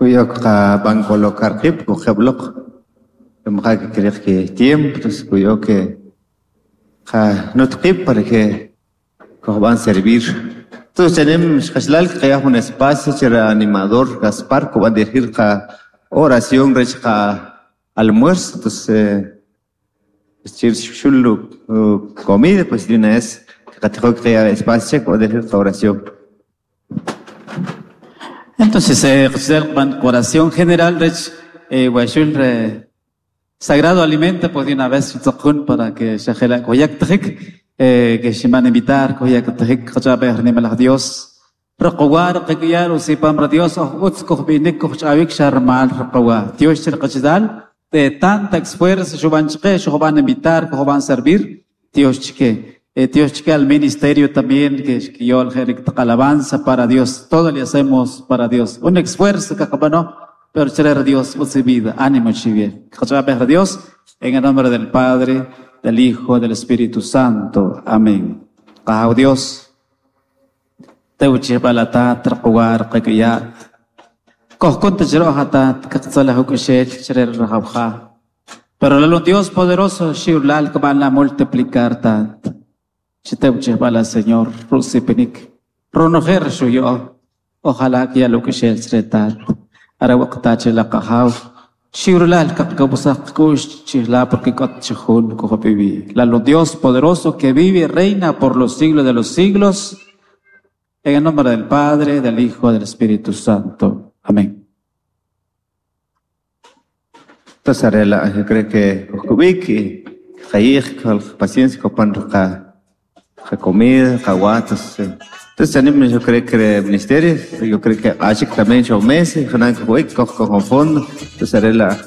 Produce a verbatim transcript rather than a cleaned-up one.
Kuyok qab'an colocar qib' kujeb'loq maja' kikiriq ki tiempo, entonces kuy'o que qanut qib' para que kujb'an servir. Entonces chanim xqachalal qaya jun espacio che animador Gaspar kub'an dirigir qa oración rech qa almuerzo, entonces chir xul comida, pues de una vez qatijo qaya espacio che kub'an dirigir qa oración. Entonces, eh, oración general, rech, eh, re sagrado alimento, pues de una vez, para que shajela koyak tajik, eh, que se van a invitar, koyak tajik, qachabe nimalaj Dios, raqawar, qakiyar, usipam ra Dios, utz kojbinik, kojchavik, sharmal, raqawa. Dios chirqachidal, de tanta esfuerzo, shuban chke, shuban invitar, shuban servir, Dios chke. Eh, Dios chke al ministerio también, que que yo alabanza para Dios, todo le hacemos para Dios. Un esfuerzo que no, pero chere Dios, utz vida, ánimo chivie. Dios, en el nombre del Padre, del Hijo, del Espíritu Santo. Amén. Qajaw Dios, tewchi balata traqwar qakiyat. Kojkunta chrohata kaqtzalah ukushel chere rajawja. Pero el Dios poderoso, shiulal que van a multiplicar tat. Chitewchi bala Señor, rusipinik. Ronojer shuyo. Ojalá que ya lo que shel tat. Ara waqta la qajaw. Shiurlal kaqkabusaq kush chihla porque kot chihun kujopivi. La Dios poderoso que vive y reina por los siglos de los siglos. En el nombre del Padre, del Hijo, del Espíritu Santo. Amén. Entonces, arela, yo creo que kujkubik y qayij con paciencia kopan qa qa comida, qa watas. Entonces, animo, yo creo que el ministerio, yo creo que ashik también show meses, janan kujubik, koj con fondo. Entonces, arela,